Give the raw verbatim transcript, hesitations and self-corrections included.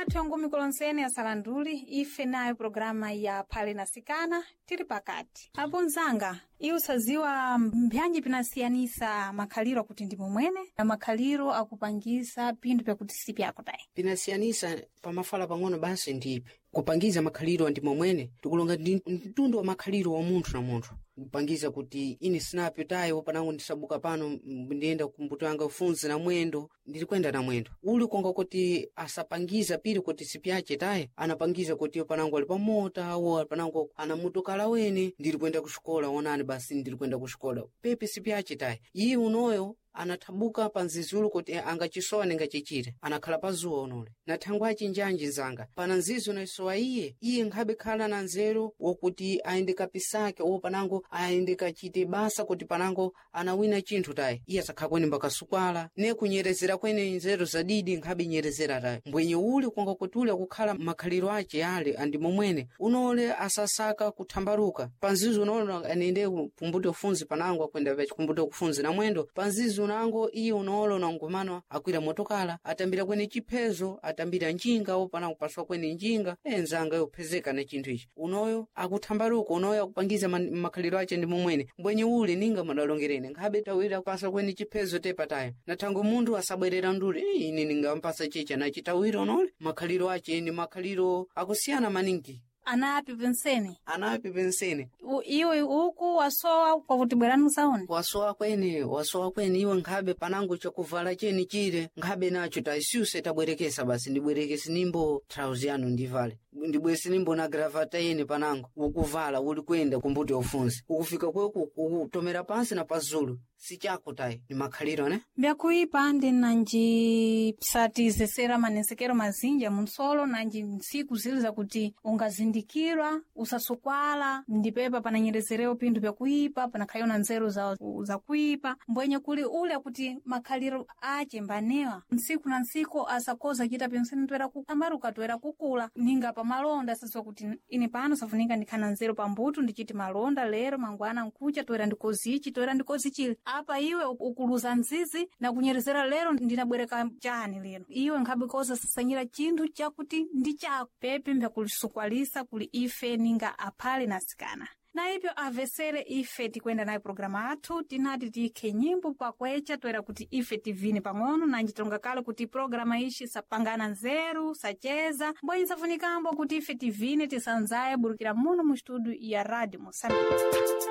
Athu angumi kulonsene asalanduli ife nayo programa ya Phale na Sikana tili pakati. Apo mzanga, iwe usaziwa mbyanji pinasiyanisa makhaliro akuti ndi momwene na makhaliro akupangisa pinthu pyakuti si pyako tayi. Pinasiyanisa pamafala pang'ono basi ndipe kupangiza makhaliro ndi momwene tikulonga ndi mtundu wa makhaliro wa munthu na munthu kupangiza kuti ine sinape tayi panango ndisabuka pano m- ndiyenda kumbuto yanga ufunzi na mwendo ndili kuyenda na mwendo uli konga kuti asapangiza pili kuti sipyache tayi anapangiza kuti panango ali pamota wo panango ana motokala wene ndili kuyenda kuxikola onani basi ndili kuyenda kuxikola pepe sipyache tayi iye unoyo anathabuka pa nzizulu kuti angachisowa ningachichite anakhala pa zuwa unole na thangwi achinjanji nzanga pana nzizi unayisowa iye iye nkhabe khala na nzeru wokuti ayende kapisake wo panango ayende kachite basa kuti panango anawina chinthu tayi iye asakhala kwene mbakasukwala ne kunyerezera kwene nzeru zadidi nkhabe nyerezera tayi mbwenye uli konga kuti uli akukhala makhaliro ace ale andi momwene unole asasaka kuthambaluka panzizi unole anende pumbuti ufunzi panango akwenda pachikumbuti kufunzi na mwendo panzizi unango iye unolo unangumano akwira motokala atambira kwene chiphezo atambira njinga wo panango paswa kwene njinga enzanga yophezeka na chinthu ichi unoyo akuthambaluka unoyo akupangiza man- makhaliro ace ndi momwene mbwenye ule ninga madalongerene nkhabe tawira kupasa kwene chiphezo tepatayo na thango munthu asabwerera ndule "Eh, ine ningampasa chicha nachitawira unole makhaliro ace ndi makhaliro akusiyana maningi Anapi pensene anapi pensene U- iwe uku wasowa kwakuti bwerani musaone. wasowa kwene wasowa kwene iwe nkhabe panango chakuvala cheni chile nkhabe nacho taisuse tabwerekesa basi ndibwerekese nimbo trauzi yanu ndivale ndibwese nimbo na gravata yene panango ukuvala uli kuyenda kumbuto yofunzi ukufika kweku ukutomera pansi na pazulu sichako tayi ni makhaliro ne Mbyakuipa ndi nanji satizesera manesekero mazinja munsolo nanji ntsiku zili zakuti ungazindikirwa usasukwala ndipepa pananyerezerewo pinthu pyakuipa panakhaliwa na nzeru za, zakuipa mbwenye kuli ule akuti makhaliro ache mbanewa ntsiku na ntsiku asakoza chita pensene toera kutambaruka toera kukula ninga pamalonda asadziwa kuti ine pano safunika ndikhana nzeru pambuto ndichiti malonda lero mangwana nkucha toera ndikozichi toera ndikozi chili apa iwe ukuluza nzizi na kunyerezera lero ndinabwereka chani lero iwe nkhabe koza sasanyira chinthu chakuti ndi chako pepe mbyakulisukwalisa kuli ife ninga aphale na asikana na ipyo avesere ife tikwenda nayo programa athu tinati tikhe nyimbo pakwecha toera kuti ife tivine pang'ono nanji tonga kale kuti programa ishi sapangana nzeru sacheza mbwenyi safunikambo kuti ife tivine tisanzaye burukira muno mu studio ya radio Moçambique.